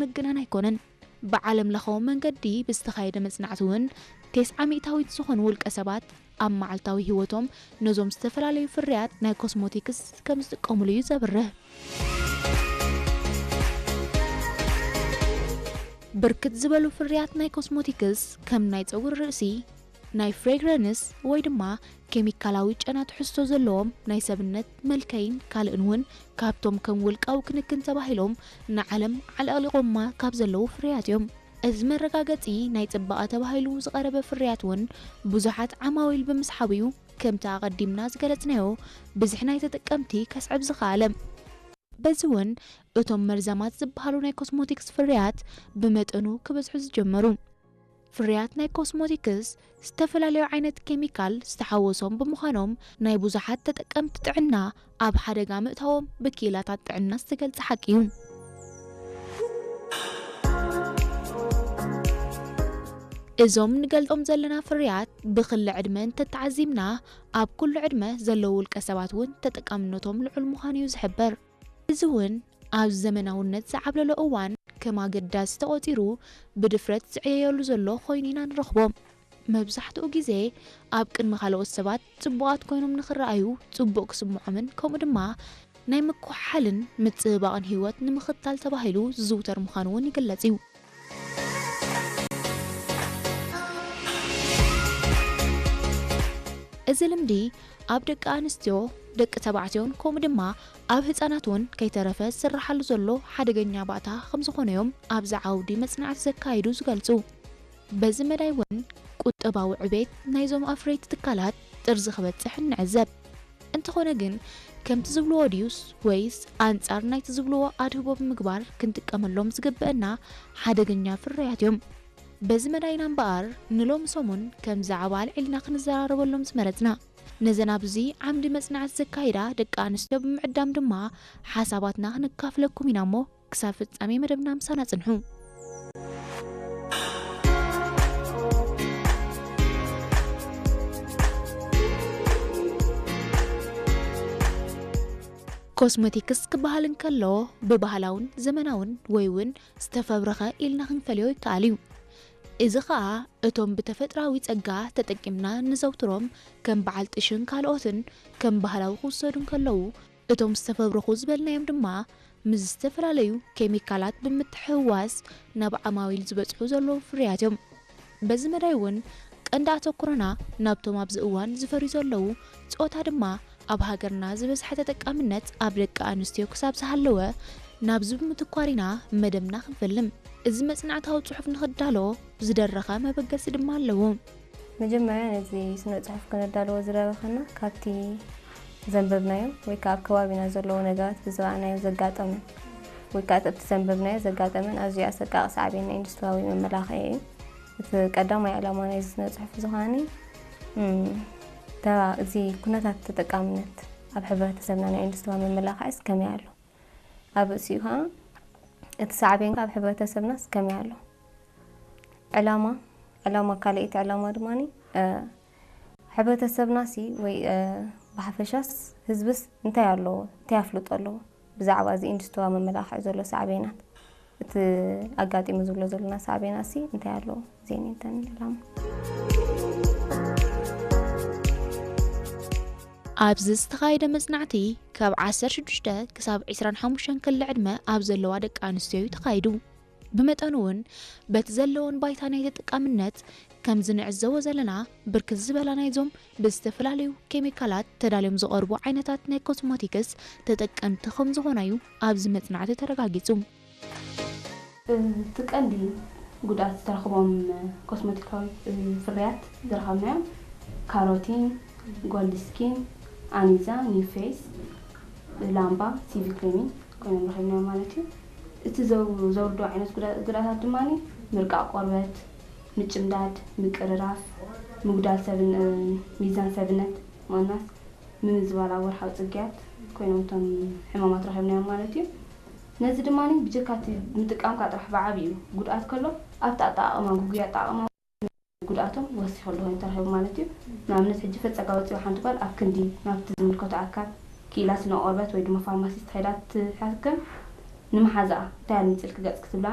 ምግናን ኣይኮነን። ብዓለም ለኻዊ መንገዲ ብዝተኻየደ መጽናዕቲ እውን፣ ተስዓ ሚእታዊት ዝኾኑ ውልቀ ሰባት ኣብ መዓልታዊ ህይወቶም ነዞም ዝተፈላለዩ ፍርያት ናይ ኮስሞቲክስ ከም ዝጥቀሙሉ እዩ ዘብርህ። ብርክት ዝበሉ ፍርያት ናይ ኮስሞቲክስ፣ ከም ናይ ጸጉሪ ርእሲ፣ ናይ ፍሬግረንስ ወይ ድማ ኬሚካላዊ ጨና ትሕዝቶ ዘለዎም ናይ ሰብነት መልከይን ካልእን እውን፣ ካብቶም ከም ውልቃዊ ክንክን ተባሂሎም ንዓለም ዓለቕሊቖማ ካብ ዘለዉ ፍርያት እዮም። እዚ መረጋገጺ ናይ ጽባቐ ተባሂሉ ዝቐረበ ፍርያት እውን ብዙሓት ዓማዊል ብምስሓቡ እዩ፣ ከምቲ ኣቐዲምና ዝገለጽናዮ፣ ብዝሒ ናይ ተጠቀምቲ ከስዕብ ዝኸኣለ። በዚ እውን እቶም መርዛማት ዝበሃሉ ናይ ኮስሞቲክስ ፍርያት ብመጠኑ ክበዝሑ ዝጀመሩ። ፍርያት ናይ ኮስሞቲክስ ዝተፈላለዩ ዓይነት ኬሚካል ዝተሓወሶም ብምዃኖም፣ ናይ ብዙሓት ተጠቀምቲ ጥዕና ኣብ ሓደጋ ምእታዎም ብክኢላታት ጥዕና ዝተገልጸ ሓቂ እዩ። እዞም ንገልጾም ዘለና ፍርያት ብክሊ ዕድመ እንተተዓዚምና፣ ኣብ ኩሉ ዕድመ ዘለዉ ውልቀ ሰባት እውን ተጠቃምነቶም ልዑል ምዃኑ እዩ ዝሕበር። እዚ እውን ኣብ ዘመናውነት ዝዓብለሎ እዋን ከም ኣገዳሲ ተቖጺሩ ብድፍረት ዝዕየየሉ ዘሎ ኮይኑ ኢና ንረኽቦ። መብዛሕትኡ ግዜ ኣብ ቅድሚ ካልኦት ሰባት ጽቡቓት ኮይኖም ንኽረኣዩ፣ ጽቡቕ ክስምዖምን ከምኡ ድማ ናይ ምኩሓልን ምጽብባቕን ህይወት ንምኽታል ተባሂሉ ዝዝውተር ምዃኑ እውን ይግለጽ እዩ። እዚ ልምዲ ኣብ ደቂ ኣንስትዮ፣ ደቂ ተባዕትዮን ከምኡ ድማ ኣብ ህጻናት እውን ከይተረፈ ዝስራሓሉ ዘሎ ሓደገኛ ባእታ ከም ዝኾነ እዮም ኣብዚ ዓውዲ መጽናዕቲ ዘካይዱ ዝገልጹ። በዚ መዳይ እውን ቁጠባዊ ዕቤት ናይዞም ኣፍረይቲ ትካላት ጥርዚ ክበጽሕ ንዕዘብ። እንተኾነ ግን፣ ከምቲ ዝብልዎ ድዩስ ወይስ ኣንጻር ናይቲ ዝብልዎ ኣድህቦ ብምግባር ክንጥቀመሎም ዝግበአና ሓደገኛ ፍርያት እዮም? በዚ መዳይና እምበኣር፣ ንሎሚ ሰሙን ከም ዛዕባ ኣልዒልና ክንዘራረበሎም ዝመረጽና፣ ነዘን ኣብዚ ዓምዲ መጽናዕቲ ዘካይዳ ደቂ ኣንስትዮ ብምዕዳም ድማ ሓሳባትና ክንካፍለኩም ኢና እሞ፣ ክሳብ ፍጻሜ መደብና ምሳና ጽንሑ። ኮስሞቲክስ ክበሃል እንከሎ፣ ብባህላውን ዘመናውን ወይ እውን ዝተፈብረኸ ኢልና ክንፈልዮ ይከኣል እዩ። እዚ ኸኣ፣ እቶም ብተፈጥራዊ ጸጋ ተጠቂምና ንዘውትሮም ከም በዓል ጥሽን ካልኦትን ከም ባህላዊ ክውሰዱ እንከለዉ፣ እቶም ዝተፈብረኹ ዝበልናዮም ድማ ምስ ዝተፈላለዩ ኬሚካላት ብምትሕውዋስ ናብ ዓማዊል ዝበጽሑ ዘለዉ ፍርያት እዮም። በዚ መዳይ እውን ቀንዲ ኣተኩሮና ናብቶም ኣብዚ እዋን ዝፈርዩ ዘለዉ፣ ጾታ ድማ ኣብ ሃገርና ዝበዝሐ ተጠቃምነት ኣብ ደቂ ኣንስትዮ ክሳብ ዝሃለወ ናብዚ ብምትኳር ኢና መደብና ክንፈልም። እዚ መጽናዕታዊ ጽሑፍ ንኽዳሎ ዝደረኸ መበገሲ ድማ ኣለዎ። መጀመርያ ነዚ ስነ ጽሑፍ ክነዳልዎ ዝደረኸና ካብቲ ዘንበብናዮ ወይ ከዓ ኣብ ከባቢና ዘለዉ ነገራት ብዝረኣናዮ ዘጋጠመን ወይ ከዓ ኣብቲ ዘንበብናዮ ዘጋጠመን ኣዝዩ ኣሰቃቂ ሳዕቤን ናይ ኢንዱስትሪያዊ መመላኽዒ እዩ። እቲ ቀዳማይ ዕላማ ናይዚ ስነ ጽሑፍ እዚ ከዓኒ፣ እም፣ ተራ እዚ ኩነታት ተጠቃምነት ኣብ ሕብረተሰብና ናይ ኢንዱስትሪ መመላኽዒስ ከመይ ኣሎ? ኣብ ርእሲኡ ከዓ እቲ ሳዕቤን ኣብ ሕብረተሰብናስ ከመይ ኣሎ? ዕላማ፣ ዕላማ ካልኣይቲ ዕላማ ድማኒ፣ እ፣ ሕብረተሰብናሲ ወይ፣ እ፣ ብሓፈሻስ ህዝብስ እንታይ ኣለዎ? እንታይ ኣፍልጦ ኣለዎ? ብዛዕባ እዚ ኢንዱስትሪ መመላኽዒ ዘሎ ሳዕቤናት፣ እቲ ኣጋጢሙ ዝብሎ ዘለና ሳዕቤናሲ እንታይ ኣለዎ? እዚአን እየን እተን ዕላማ። ኣብዚ ዝተኻየደ መጽናዕቲ ካብ ዓሰርተ ሽዱሽተ ክሳብ ዕስራን ሓሙሽተን ክሊ ዕድመ ኣብ ዘለዋ ደቂ ኣንስትዮ እዩ ተኻይዱ። ብመጠኑ እውን በቲ ዘለዎን ባይታ ናይ ተጠቃምነት፣ ከምዚ ንዕዘቦ ዘለና፣ ብርክት ዝበላ ናይዞም ብዝተፈላለዩ ኬሚካላት ተዳልዮም ዝቐርቡ ዓይነታት ናይ ኮስሞቲክስ ተጠቀምቲ ከም ዝኾና እዩ ኣብዚ መጽናዕቲ ተረጋጊጹ። እቲ ቀንዲ ጉድኣት ዝተረኽቦም ኮስሞቲካዊ ፍርያት ዝረኸብናዮም ካሮቲን፣ ጎልድ ስኪን፣ ኣኒዛ፣ ኒው ፌስ፣ ላምባ፣ ሲቪ ክሬሚን ኮይኖም ረኺብናዮም ማለት እዩ። እቲ ዘው-፣ ዘውርዶ ዓይነት ጉዳ-፣ ጉድኣታት ድማ ምርቃቕ ቆርበት፣ ምጭምዳድ፣ ምቅርራፍ፣ ምጉዳል ሰብን-፣ ሚዛን ሰብነት፣ ምቕናስ፣ ምምዝባል ኣብ ወርሓዊ ጽግያት ኮይኖም እቶም ሕማማት ረኺብናዮም ማለት እዩ። ነዚ ድማ ብጀካ እቲ ምጥቃምካ ጥራሕ ብዓብዩ ጉድኣት ከሎ፣ ኣብቲ ኣጠቓቕማ፣ ግጉይ ኣጠቓቕማ ጉድኣቶም ወሲኹ ኣሎ ኮይኑ ተረኺቡ ማለት እዩ። ንኣብነት፣ ሕጂ ፈጸጋ ወጺኡ ሓንቲ ጓል ኣብ ክንዲ ናብቲ ዝምልከቶ ኣካል ክኢላ ስነ ቆርበት ወይ ድማ ፋርማሲስት ከይዳ ትሓክም፣ ንመሓዛኣ እንታይ ኣልሚጽልኪ ገጽኪ ትብላ፣